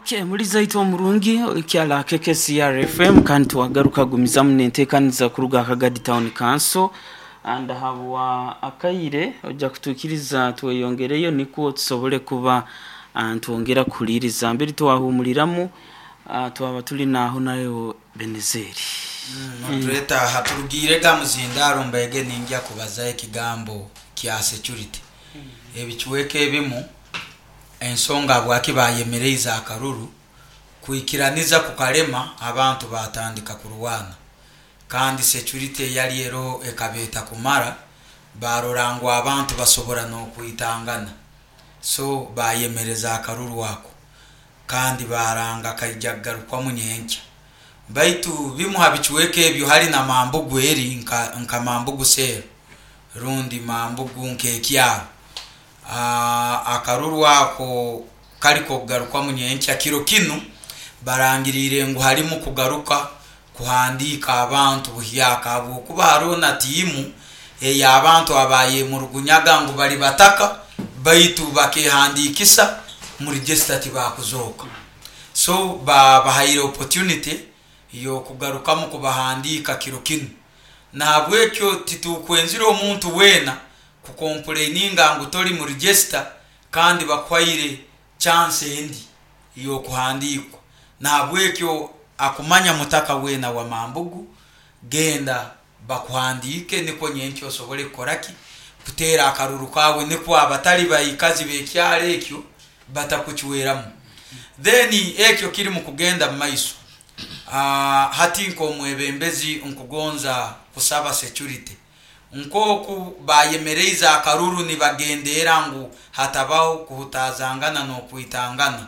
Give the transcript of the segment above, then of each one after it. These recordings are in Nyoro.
Okay, muliza itwe omurungi okyala KKCR FM, kandi twagaruka gumizamu nentekaniza kuruga Kagadi Town Council. Ndahabwa akaire ojja kutuikiriza tweyongereyo nikwo tusobole kuba ntwongera kuhuliriza mbere twahumuliramu, twaba tuli naho nayo Benezeri. Notuleta aha turugiire ga muzindaro mbaige ningya kubaza ekigambo kya security. Ebicweka ebimu ensonga habwaki bayemereize akaruru kwikiraniza kukalema, abantu batandika kurwana, kandi security eyali eroho ekaba etakumara, barora ngu abantu basobora n'okwitangana, so bayemereza akaruru ako kandi baranga kaija kugarukwamu nyenkya. Baitu bimu ha bicweka ebyo hali na Mambugu eri nka Mambugu cell rundi Mambugu nk'ekyaro. Akaruru ako kali kokugarukwamu nyenkya. Kiro kinu barangiriire ngu halimu kugaruka kuhandiika abantu buhyaka, habwokuba haroho na tiimu ey'abantu abayemurugunyaga ngu bali bataka baitu bakehandiikisa mu register tibakuzooka. So babahaire opportunity y'okugarukamu kubahandiika kiro kinu. Nahabwekyo titukwenzire omuntu weena kukomplaininga ngu toli mu register kandi bakuhaire chance endi y'okuhandiikwa. Nahabwekyo akumanya mutaka weena wa Mambugu, genda bakuhandiike nikwo nyenkya osobole kukora ki? Kuteera akaruru kawe, nikwo abatali baikazi b'ekyaro ekyo batakucweramu. Then ekyo kiri mu kugenda mu maiso. Hati nk'omwebembezi nkugonza kusaba security nk'oku bayemereize akaruru nibagendeera ngu hatabaho kuhutazangana n'okwitangana,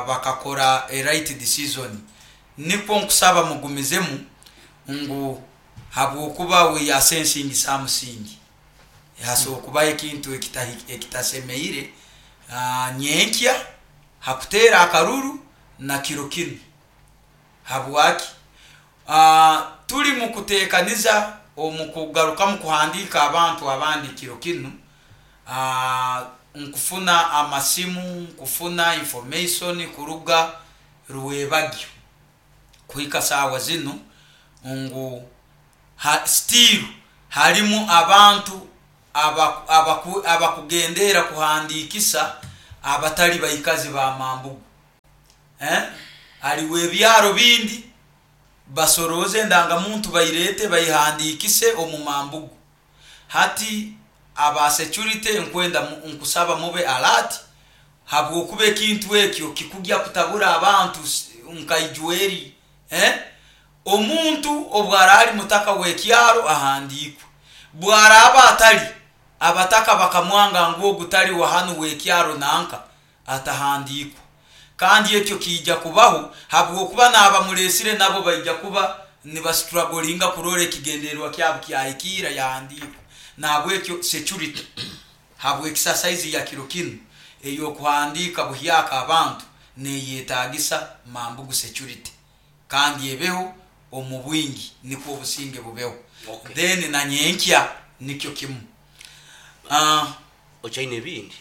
bakakora a right decision. Nikwo nkusaba mugumizemu ngu habwokuba we are sensing something, hasobora kubaho ekintu ekitasemeire nyenkya hakuteera akaruru na kiro kinu. Habwaki? Tuli mu kuteekaniza omu kugarukamu kuhandiika abantu abandi kiro kinu, nkufuna amasimu, nkufuna information kuruga Rwebagyo kuhika saawa zinu ngu still halimu abantu abakugendeera kuhandiikisa abatali baikazi ba Mambugu. Haliwo ebyaro bindi basorooze endangamuntu bairete baihandiikise omu Mambugu. Hati aba security nkwenda nkusaba mube alert, habwokuba ekintu ekyo kikugya kutabura abantu nkaijweri. Omuntu obwaraali mutaka w'ekyaro ahandiikwe, bwaraaba atali, abataka bakamwanga ngu ogu tali wa hanu w'ekyaro nanka, atahandiikwa. Kandi ekyo kiija kubaho habwokuba n'abamuleesire nabo baija kuba nibastrugglinga kurora ekigendererwa kyabo kyahikiira yahandiikwa. Nahabwekyo security habw'exercise ya kiro kinu ey'okuhandiika buhyaka abantu neyetagisa Mambugu security kandi ebeho omu bwingi nikwo obusinge bubeho. Then na nyenkya nikyo kimu. Okyaine ebindi?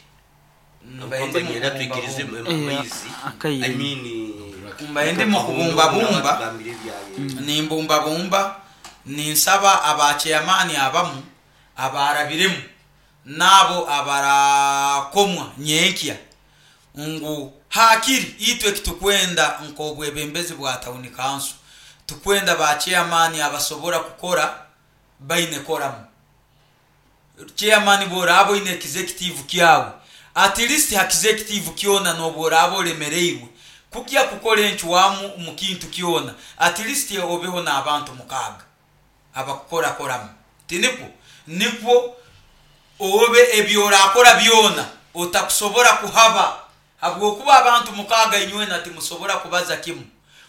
Mbaire ndi Nyenda twikirize mukubumbabumba. amaizi. Akaire. I mean, Mbaire ndi mukubumbabumba, Tugambire ebyaye. nimbumbabumba, ninsaba aba chairman abamu abarabiremu n'abo abarakomwa nyenkya ngu hakiri itwe ekitukwenda nk'obwebembezi bwa town council, tukwenda ba chairman abasobora kukora baine koramu. Chairman bw'oraaba oine executive kyawe, at least ha executive kyona n'obworaaba olemereirwe kugya kukora encwamu mu kintu kyona, at least obeho n'abantu mukaaga abakukora koramu. Tinikwo? Nikwo obe eby'orakora byona otakusobora kuhaba, habwokuba abantu mukaaga inywena timusobora kubaza kimu.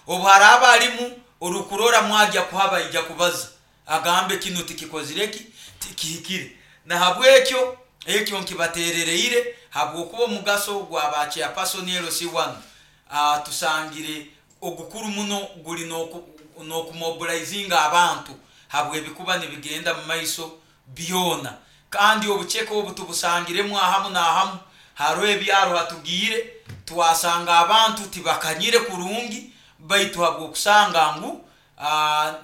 Obu haraaba halimu orukurora mwagya kuhaba, aija kubaza agambe kinu tikikozire ki, tikihikire. Nahabwekyo ekyo nkibaterereire, habwokuba omugaso gwa ba chairperson LC1 tusangire ogukuru muno guli n'okumobilizinga abantu habw'ebikuba nibigenda mu maiso byona. Kandi obuceke obu tubusangiremu ahamu n'ahamu, haroho ebyaro hatugiire Twasanga abantu tibakanyire kurungi, baitu habwokusanga ngu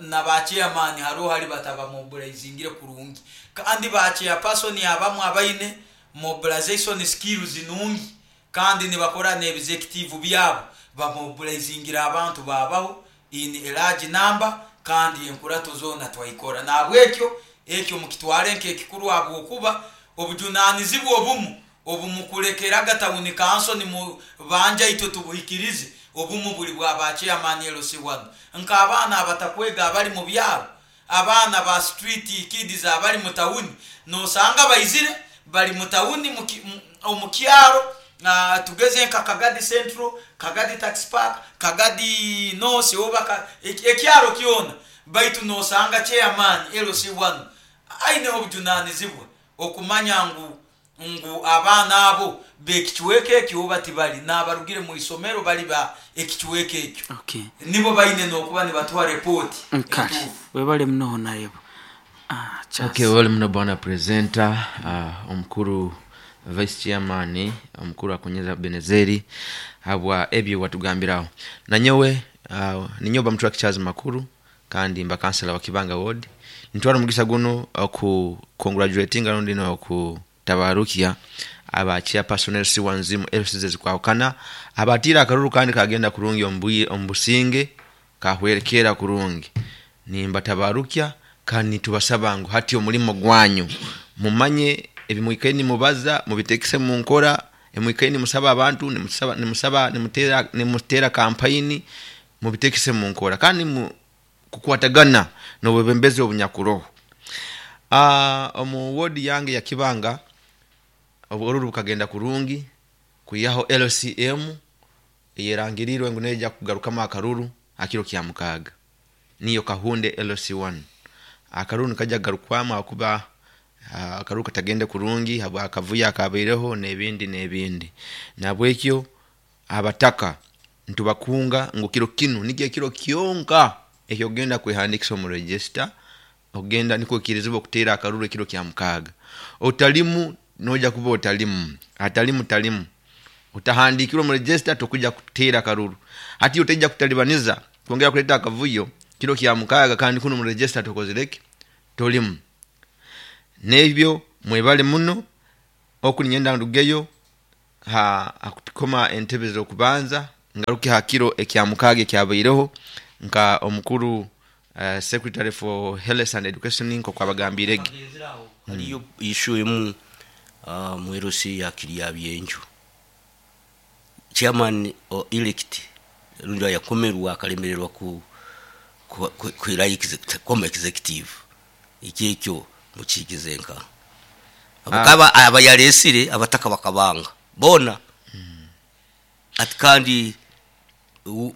na ba chairman haroho hali batabamobilizingire kurungi, kandi ba chairperson abamu abaine mobilization skills nungi kandi nibakora n'executive byabo, bamobilizingire abantu babaho in a large number, kandi enkurato zoona twaikora. Nahabwekyo ekyo mukitware nk'ekikuru, habwokuba obujunanizibwa obumu obumukulekeraga town council nimubanja itwe tubuhikirize, obumu buli bwa ba chairman LC1, nk'abaana abatakwega abali mu byaro, abaana ba street kids abali mu tawuni, nosanga baizire bali mu tawuni omu kyaro, tugeze nka Kagadi Central, Kagadi Taxi Park, Kagadi North, oba ekyaro kyona, baitu nosanga chairman LC1 aineho obujunanizibwa okumanya ngu abaana abo bekicweka ekyo oba tibali nabarugire mu isomero bali ba ekicweka ekyo. Nibo baine nokuba nibatuha report. Nkale webale muno nayebo. Okay, webale muno bwana presenter, omukuru vice chairman, omukuru Akonyeza Benezeri, habwa ebyo watugambiraho. Nanyowe ninyowe bamutwara Charles Makuru, kandi mba kansela wa Kibanga Ward. Nitwara omugisa guno oku congratulating rundi no kutabarukia aba chairperson LC1 mu LCs ezikwahukana abatira akaruru kandi kagenda kurungi omubusinge kahwerekera kurungi. Nimbatabarukia kandi tubasaba ngu hati omulimo gwanyu mumanye ebimwikaini nimubaza mubitekese mu nkora, emwikaini musaba abantu nimusaba nimusaba nimutera nimutera campaign mubitekese mu nkora kandi kukwatagana n'obwebembezi obunyakuroho. Omu ward yange ya Kibanga obururu bukagenda kurungi kuyaho LCM eyerangirirwe ngu neja kugarukamu akaruru akiro kya mukaaga, niyo Kahunde LC1. Akaruru nikaja kugarukwamu akuba akaruru katagende kurungi habwa akavuyo akabaireho n'ebindi n'ebindi. Nabwekyo abataka ntubakunga ngu kiro kinu nikyo ekiro kyonka ekyokugenda kwehandikisa omu register, okugenda nikwo okirizibwa okuteera akaruru ekiro kya mukaaga. Otalimu noja kuba otalimu, atalimu talimu. Otahandikirwe omu register tokuja kuteera akaruru. Hati otaija kutalibaniza kwongera kuleta akavuyo kiro kya mukaaga kandi kuno mu register tokozireki tolimu. Nebyo mwebale muno oku ninyenda ndugeyo ha kukoma entebe z'okubanza ngaruke ha kiro ekya mukaaga ekyabaireho nka omukuru secretary for health and education nko abagambirege. Haliyo issue emu mu LC ya Kirya Byenju, chairman elect rundi yakomerwa akalemererwa ku kwira koma executive, iki ekyo mukiikize nka abakaba abayalesire abataka bakabanga bona ati kandi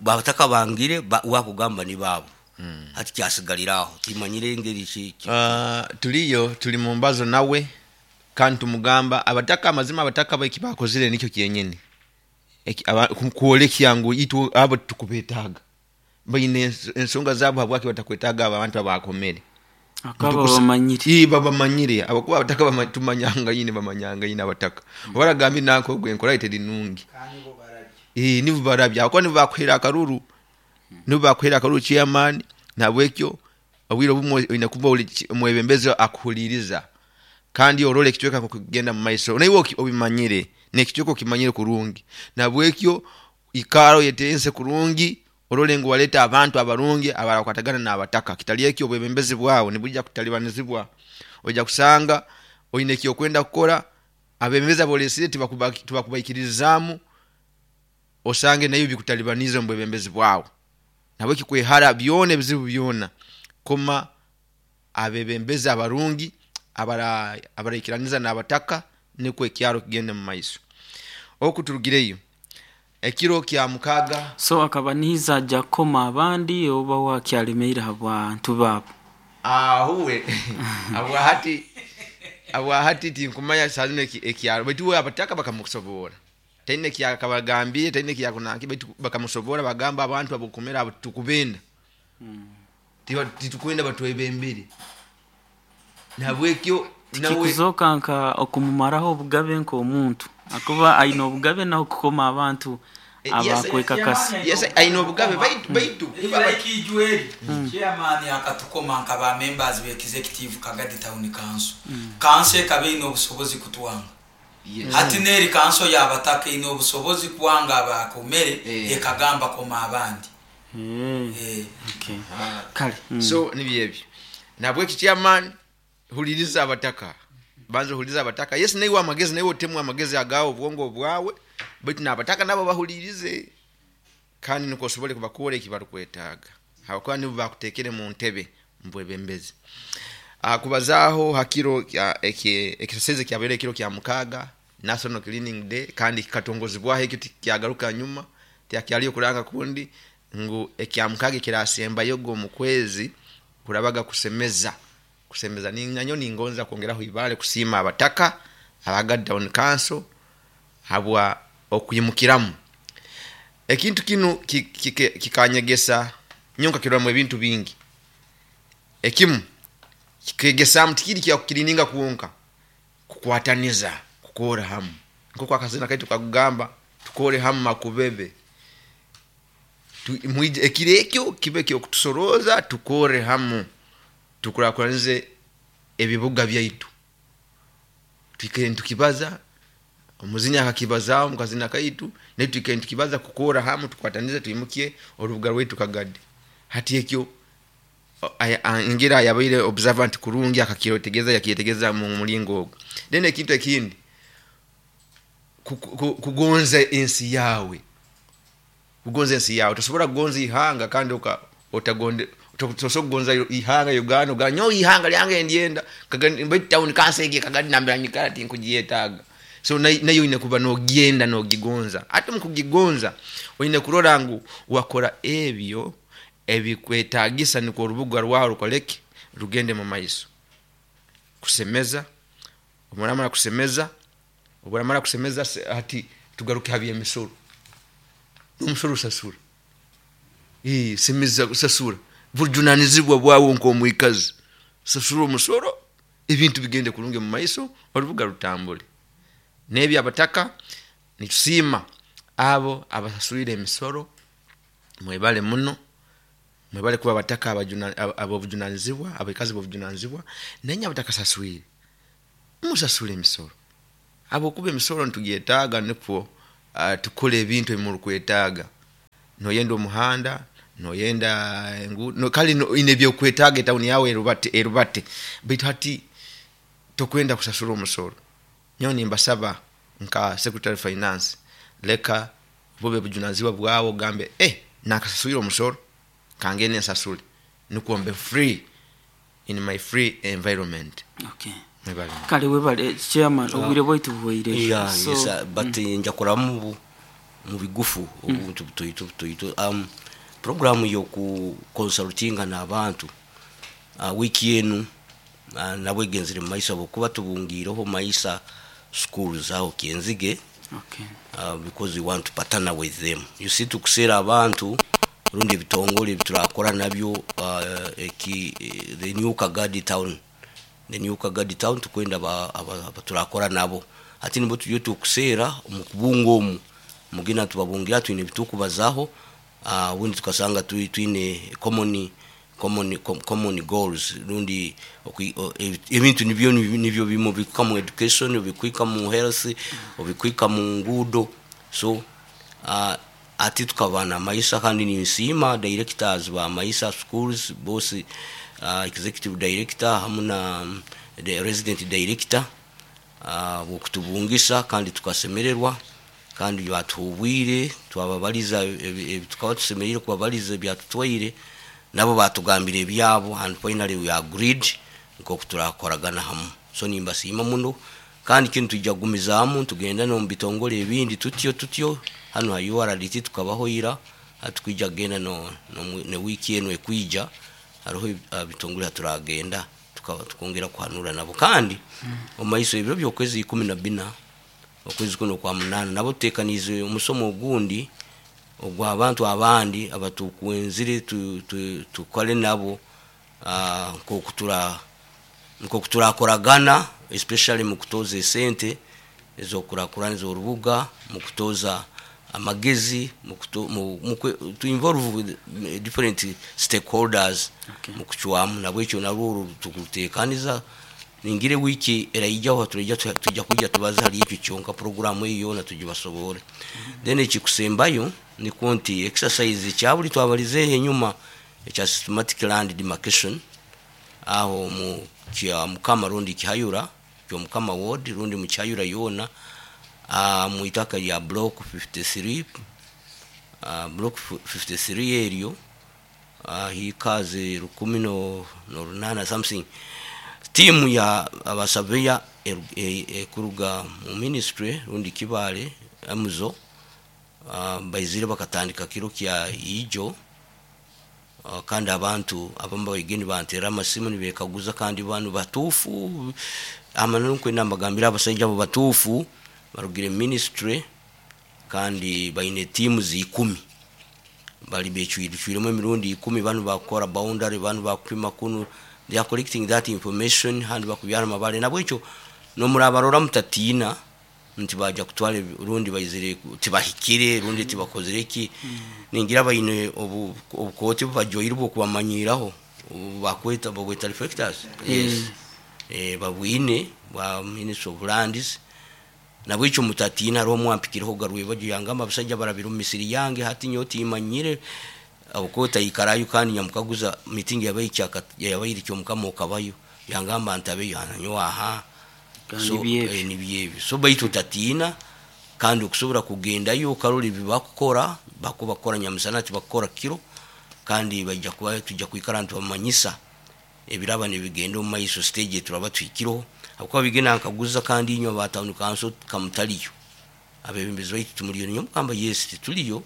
bataka bangire wakugamba ni babo ati kyasigaliraho timanyire engeri Tuliyo tuli mu mbazo nawe kandi tumugamba abataka amazima abataka baiki bakozire nikyo kyenyini kwolekya ngu itwe abo tukubetaaga baine ensonga zabo habwaki batakwetaaga abo abantu abakomere akaba bamanyire. Babamanyire abakuba abataka tumanyanga yine bamanyanga yine abataka obaragambye nanko gwe enkora iteri nungi nibo barabya abakuba nibo bakuhera akaruru, nibo bakuhera akaruru chairman. Nabwekyo obwire obumwe oyina kuba omwebembezi akuhuliriza kandi orole ekicweka kugenda mu maiso naiwe obimanyire n'ekicweka okimanyire kurungi. Nabwekyo ikaro yetense kurungi orole ngu waleta abantu abarungi abarakwatagana n'abataka. Kitali ekyo obwebembezi bwawe nibujja kutalibanizibwa, ojja kusanga oyina ekyokwenda kukora abebembezi abolesire tibakubaikiririzaamu osange nayo bikutalibanize omu bwebembezi bwawe. Nabwekyo kwehara byona ebizibu byona koma abebembezi abarungi abaraikiraniza n'abataka nikwo ekyaro kigende mu maiso. Oku turugireyo ekiro kya mukaaga. So akaba niiza ajja kukoma abandi oba wakyalemeire habwantu baabo? Ahuwe abwahati tinkumanya sazino ekyaro baitu we abataka bakamusobora taine kyakabagambire taine kyakunanki baitu bakamusobora bagamba abantu abokumera abo tukubenda titukwenda batwebembere. Nabwekyo Tikikuzoka nka okumumaraho obugabe nk'omuntu, akuba aine obugabe naho kukoma abantu abakwekakasa. Yes, aine obugabe, baitu Like ijweri chairman akatukoma nka ba members be executive Kagadi Town Council. Council ekaba eine obusobozi kutwanga. Hati neri council y'abataka eine obusobozi kwanga abakomere, ekagamba koma abandi. Okay. Kale. So nibyo ebyo. Nabweki chairman, huliriza abataka, banza ohulirize abataka. Yes, naiwe amagezi, naiwe otemu amagezi agawe, obwongo obwawe, baitu n'abataka nabo bahulirize, kandi nukwo osobole kubakora eki barukwetaaga, habwokuba nibo bakutekere mu ntebe mubwebembezi. Kubazaaho hakiro ekisasezi ekyabaire ekiro kya 6, National Cleaning Day, kandi kikatongozibwaho ekyo tikyagaruka nyuma, tihakyaliyo kuranga kundi ngu ekya 6 ekirasembayoga omu kwezi kurabaga kusemeza. Kusemeza nanyo ningonza kwongeraho ibale kusiima abataka aba Town Council habwa okwimukiramu. Ekintu kinu kikanyegesa nyo, nkakiroramu ebintu bingi. Ekimu kikegesamu tikiri kya kukirininga kwonka, kukwataniza, kukora hamu, nk'oku akazina kaitu kakugamba, tukore hamu makubebe. Mwije ekiro ekyo kibe kyokutusoroza, tukore hamu, tukurakuranize ebibuga byaitu. Twikare nitukibaza, omuzinya akakibazaho mu kazina kaitu, naitwe twikare nitukibaza kukora hamu, tukwatanize, twimukye orubuga rwaitu Kagadi. Hati ekyo ngira yabaire observant kurungi, akakyetegereza, yakyetegereza mu mulingo ogwo. Then ekintu ekindi, kugonza ensi yawe. Kugonza ensi yawe. Tosobora kugonza ihanga kandi otagonde, tosobora kugonza ihanga Uganda, ogamba nyowe ihanga lyange ndyenda, baitu town council egi Kagadi nambere nyikara tinkugyetaaga. So nayo oine kuba nogyenda nogigonza. Ate mukugigonza oine kurora ngu wakora ebyo ebikwetagisa nukwo orubuga rwawe rukoleke, rugende mu maiso. Kusemeza, oburamara kusemeza, oburamara kusemeza, hati tugaruke ha by'emisoro. Omusoro osasura. Semeza, sasura. Bujunanizibwa bwawe nk'omwikazi. Sasura omusoro, ebintu bigende kurungi mu maiso, orubuga rutambule. N'ebyo abataka nitusiima abo abasasuire emisoro, mwebale muno, mwebale kuba abataka ab'obujunanizibwa, abaikazi b'obujunanizibwa, nainywe abatakasaswire musasule emisoro, habwokuba emisoro nitugyetaaga nukwo tukole ebintu ebimurukwetaaga. Noyenda omuhanda, noyenda enguudo, kale oine ebyokwetaaga etawuni yawe erubate, baitu hati tokwenda kusasura omusoro. Nyowe nimbasaba nka secretary finance, leka bube bujunanizibwa bwawe ogambe, nakasaswire omusoro, kangende nsasule nukwo mbe free in my free environment. Okay. Mwebale. Kale webale chairman, obwire bwaitu buhweire. Yeah, So, yes, but nja kuramu mu bigufu obuntu butoito butoito. Programu yoku consultinga n'abantu wiki enu nabwo egenzere mu maiso, habwokuba tubungiireho Maisa schools aho Kyenzige. Okay. Because we want to partner with them. You see, tukuseera abantu rundi ebitongole ebiturakora nabyo, eki, the new Kagadi town, the new Kagadi town, tukwenda abaturakora nabo. Hati nibo turiyo tukuseera omu kubunga omu mugina tubabungira, twine ebitukubazaho, ubundi tukasanga twine common goals, rundi ebintu nibyo bimu bikuka mu education, obikwika mu health, obikwika mu nguudo. So ati tukaba na Maisa, kandi ninsiima directors ba Maisa schools both, executive director hamu na the resident director, bwokutubungisa, kandi tukasemererwa, kandi batuhubwire, twababaliza ebi tukaba tusemereire kubabaliza ebyatutwaire, nabo batugambira ebyabo, and finally we agreed nkoku turakoragana hamu. So nimbasiima muno, kandi kinu tujja kugumizaamu tugenda n'omu bitongole ebindi tutyo tutyo. Hanu ha URDT tukabaho ira, hati twija kugenda no wiiki enu ekwija hariho bitongole haturagenda tukongera kuhanura nabo. Kandi omu maiso ebiro by'okwezi 14 okwezi kuno okwa 8, nabo tutekaniize omusomo ogundi ogw'abantu abandi abatukwenzire tukole nabo, nk'oku Nkoku turakoragana especially mu kutoza esente ez'okukurakuraniza orubuga, mu kutoza amagezi, to involve with different stakeholders. Okay. Mu kucwamu nabwekyo narwo oru tukuruteekaniza ningire wiki eraijaho turaija tujja kwija tubaze hali ekyo kyonka programu eyo yoona tugibasobore. Then ekikusembayo nikwo nti exercise ekyabuli twabalizeeho enyuma ekya systematic land demarcation aho mu kya Mukama rundi Kihayura ky'Omukama ward rundi mu Kihayura yoona, mu itaka lya block 53, block 53 eryo hikaze rukumi no runana something. Tiimu ya abasaveya ekuruga mu ministry rundi Kibaale emuzo, baizire bakatandika kiro kya ijo, kandi abantu abamu baigeni bantera amasimu nibekaguza kandi banu batuufu. Amananu nkwenda mbagambire abasaija abo batuufu barugire ministry kandi baine tiimu 10 bali becwiremu emirundi 10. Banu bakukora boundary, banu bakupima kunu, they are collecting that information handi bakubyara amabale. Nabwekyo nomurabarora mutatiina nti baja kutwara rundi baizire tibahikire rundi tibakozire ki. Ningira baine obukooti bubajoire bwokubamanyiraho bakweta babweta reflectors, yes. Babwine bwa Ministry of Lands. Nabwekyo mutatiina. Hariho omwampikireho garwebajo yangamba abasajja barabire omu misiri yange, hati nyowe timanyire obukooti aikarayo. Kandi nyamukaguza meeting yabaire kyomukama okabayo, yangamba ntabeyo nyowe aha. Kandi So, byebyo. Nibyebyo. So baitu otatiina kandi okusobora kugendayo okarora ebi bakukora, bakuba bakukora nyamusana tibakukora kiro, kandi baija kuba tujja kwikara nitubamanyisa ebiraba nibigenda omu maiso, stage turaba tuhikireho, habwokuba bigenda nkaguza. Kandi inywe aba town council kamutaliyo, abebembezi baitu tumuliyo? Niyo mugamba yes, tituliyo,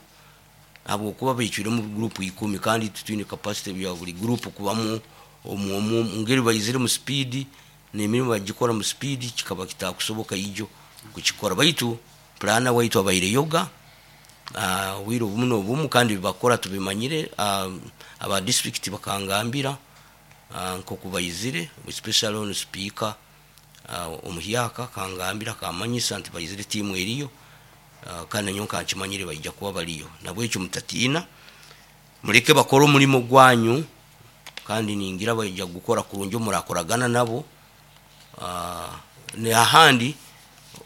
habwokuba becwiremu group 10 kandi titwine capacity ya buli group kubamu omu omu. Ngeri baizire mu speed n'emirimu bagikora mu speed, kikaba kitakusoboka ijo kukikora. Baitu planner waitu abaire yoga obwire obumu n'obumu, kandi bibakora tubimanyire. Aba district bakangambira nkoku baizire, especially on speaker omuhyaka kangambira kamanyisa nti baizire tiimu eriyo, kandi nanyowe nkankimanyire baija kuba baliyo. Nabwekyo mutatiina, muleke bakore omulimo gwanyu, kandi ningira baija kugukora kurungi omurakoragana nabo. N'ahandi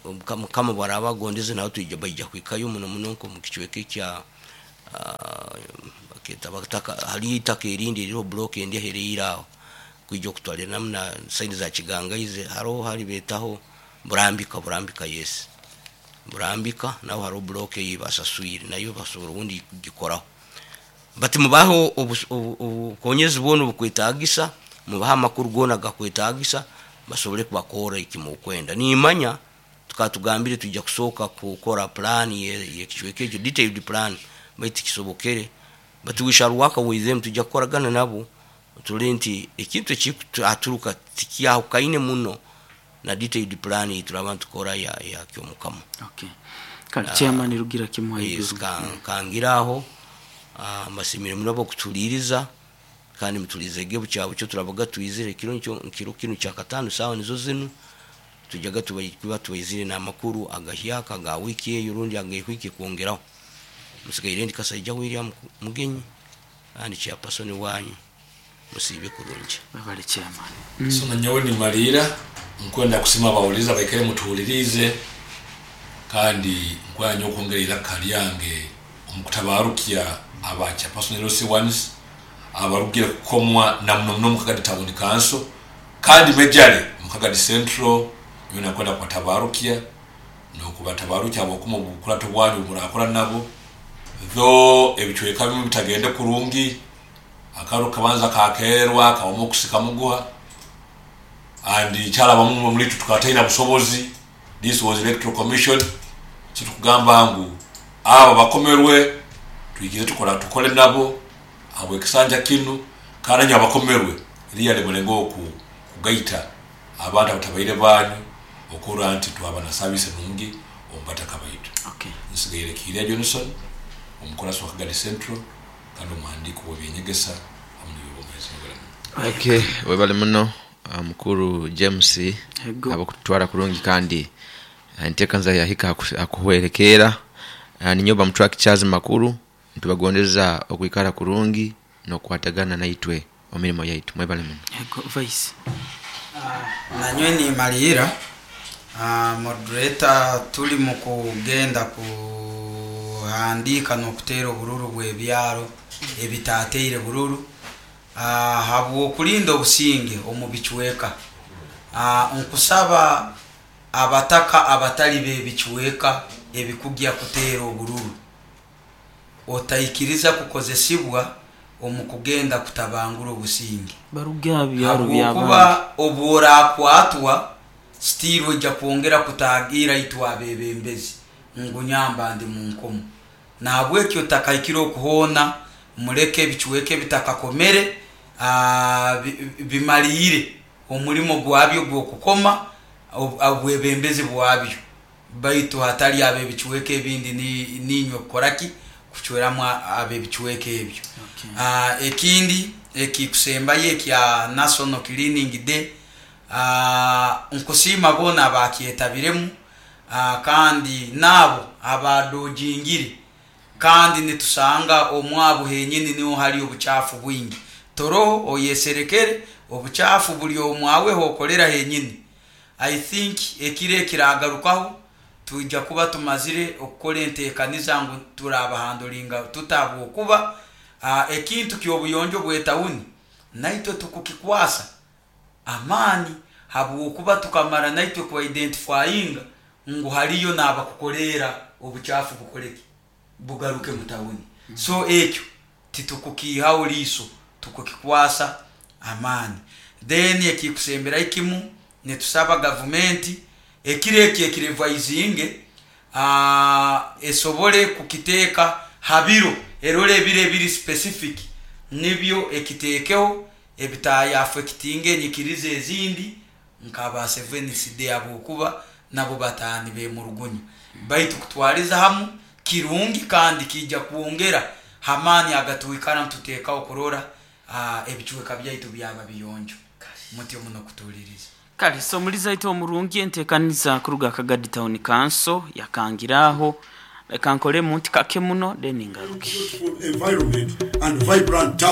Mukama bwaraba agondeze naho twija baija kuhikayo muno muno nko mu kicweka ekya baketa bataka haliyo itaka erindi eririho block endi eheriire aho kwija okutwaliramu na side za Kigangaize, haroho hali betaho Burambika, Burambika, yes, Burambika naho hariho block eyi basaswire, nayo basobora obundi kugikoraho. But mubahe obukonyezi bwona obukwetagisa, mubahe amakuru goona agakwetagisa basobole kubakora ekimukwenda. Nimanya tukaba tugambire twija kusooka kukora plan yekicweka ekyo, detailed plan, baitu tikisobokere. But we shall work with them, tujja kukoragana nabo turole nti ekintu ekikuturuka tikyahukaine muno na detailed plan eyituraba nitukora ya Kyomukama. Okay. Kale chairman Rugira kimu. Yes, haiguru. Kangira aho, mbasimire muno abokutuhuliriza, kandi mutulizege bukyabukyo turabaga twizire ekiro nkiro kinu kyakatano saawa nizo zinu tujaga tuba tubaizire n'amakuru agahyaka aga wiki eyo rundi ag'ehwiki kwongeraho. Musigaire ndi Kasaija William Mugenyi kandi chairperson wanyu. Musiibe kurungi. Webale chairman. So nanyowe nimaliira nkwenda kusima abawuliriza baikare mutuhulirize, kandi nkwenda nyo okwongera iraka lyange omu kutabarukya aba chairperson LC ones abarugire kukomwa na muno muno Mukagadi Town Council kandi majorly Mukagadi Central. Nyowe nakwenda kubatabarukya nokubatabarukya habwokuma obukurato bwanyu murakora nabo, though ebicweka bimu bitagende kurungi, akaro kabanza kakerwa kabamu okusika muguha and kyalabamu muri tukaba busobozi. This was Electoral Commission. So tukugamba ngu abo bakomerwe twigire tukora tukole nabo abo ekisanja kinu, kandi nyo abakomerwe really mulengo kugaita abantu abatabaire banyu okura nti twaba na service nungi omubataka baitu. Okay. Nsigaire Kiria Johnson, omukorasi wa Kagadi Central kandi omuhandiiko w'ebyenyegesa hamu n'ebyobwomezi. Okay, webale muno. mukuru James Ego. Abakutwara kurungi kandi enteekaniza yahika akuhwerekeera. Ninyoba mutwaki Charles Makuru, ntubagondeza okwikara kurungi n'okukwatagana naitwe omu mirimo yaitu. Mwebale muno. Ego, vice. Nanywe nimalira. Moderator, tuli mu kugenda kuhandika n'okuteera obururu bw'ebyaro ebitateire bururu, habw'okulinda obusinge omu bicweka. Nkusaba abataka abatali b'ebicweka ebikugya kuteera obururu, otaikiriza kukozesibwa omu kugenda kutabangura obusinge. Baruge aha byaro by'abandi. Habwokuba obworakwatwa still ojja kwongera kutagira itwe abebembezi ngu nyamba ndi mu nkomo. Nahabwekyo otakahikire okuhoona, muleke ebicweka ebitakakomere, bimaliire omulimo gwabyo gw'okukoma obwebembezi bwabyo, baitu hatali ab'ebicweka ebindi ninywe kukoraki kucweramu ab'ebicweka ebyo. Ekindi ekikusembayo ekya National Cleaning Day, nkusiima boona abakyetabiremu, kandi naabo abadojingire, kandi nitusanga omwabo henyini niho hari obuchafu bwingi. Toroho oyeserekere, obuchafu buli omwawe hokolera henyini. I think ekiro ekiragarukaho twija kuba tumazire okukora entekaniza ngu turabahandolinga tutabwokuba ekintu ky'obuyonjo bw'etawuni naitwe tukukikwasa amaani, habwokuba tukamara naitwe kuidentifyinga ngu hariyo n'abakukoleera obuchafu bukoreki bugaruke mu tawuni. So ekyo titukukiihaho liiso, tukukikwasa amaani. Then ekikusemberayo kimu, nitusaba gavumenti ekiro eki ekirevaizinge, esobole kukiteeka ha biro, erole ebiro ebiri specific nibyo ekiteekeho ebitayaffectinga enyikiriza ezindi nk'aba Seventh Day, habwokuba nabo bataani bemurugunya. Baitu kutwaliza hamu kirungi kandi kijja kwongera hamaani agatwikara nituteekaho kurora ebicweka byaitu byaba biyonjo. Mutyo muno kutuuliriza. Kale so omulizi aitu omurungi, enteekaniza kuruga Kagadi Town Council yakangiraho. Leka nkolemu nti kake muno then ngaruke. Beautiful environment and vibrant town.